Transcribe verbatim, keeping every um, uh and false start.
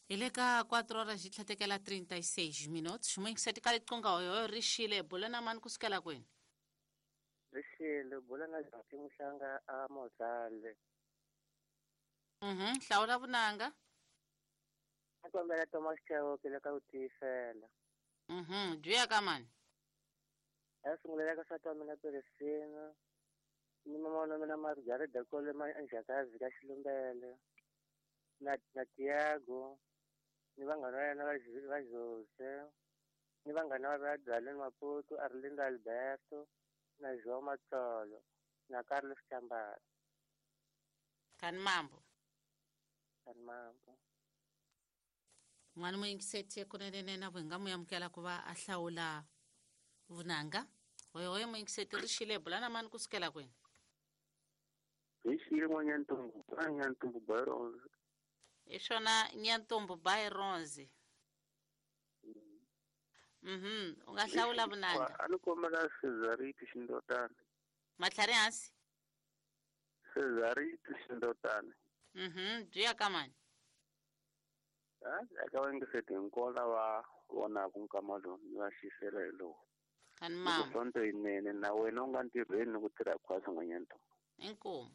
Hi le ka quatro horas yi tlhatekela trinta e seis minutos. Muyingiseti ka liqunga hoyo ri xile bula na mani kusukela kwini? Ri xile bula na Jati Muhlanga a Mozale. Mhm, hlawula vunanga. A kombela Thomas Chauke le ka ku tiyisela. Mhm, byi ya ka mani? A sungulela ka nsati wa mina Peresina, ni mama wa mina Margaret Dakole ma Njhakazi ka Xilumbele, na na Tiago, ni vanghana va yena va va Jose, ni vanghana va Dzaleni Maputo, Arlindo Alberto, na João Matsolo, na Carlos Chambara. Kani mambo. Kani mambo. N'wana muyingiseti kunene na vu hi nga mu amukela ku va a hlawula vunanga. Hoyo hoyo muyingiseti ri xile bula na mani kusukela kwini? Hi xile n'wanyantombo, a Nyantombo Byron. Hi swona Nyantombo Byron. Mhm, u nga hlawula vunanga. A ni kombela Cesarito Xindotana. Matlhari hansi? Cesarito Xindotana. Mhm, byi ya ka mani? A eka vayingiseti hinkwavo lava vonaka nkama lowu ni va xisela hi lowu. Kani mama. Sonto yinene na wena u nga ntirhweni ni ku tirha khwatsi n'wanyantombo. Inkomu.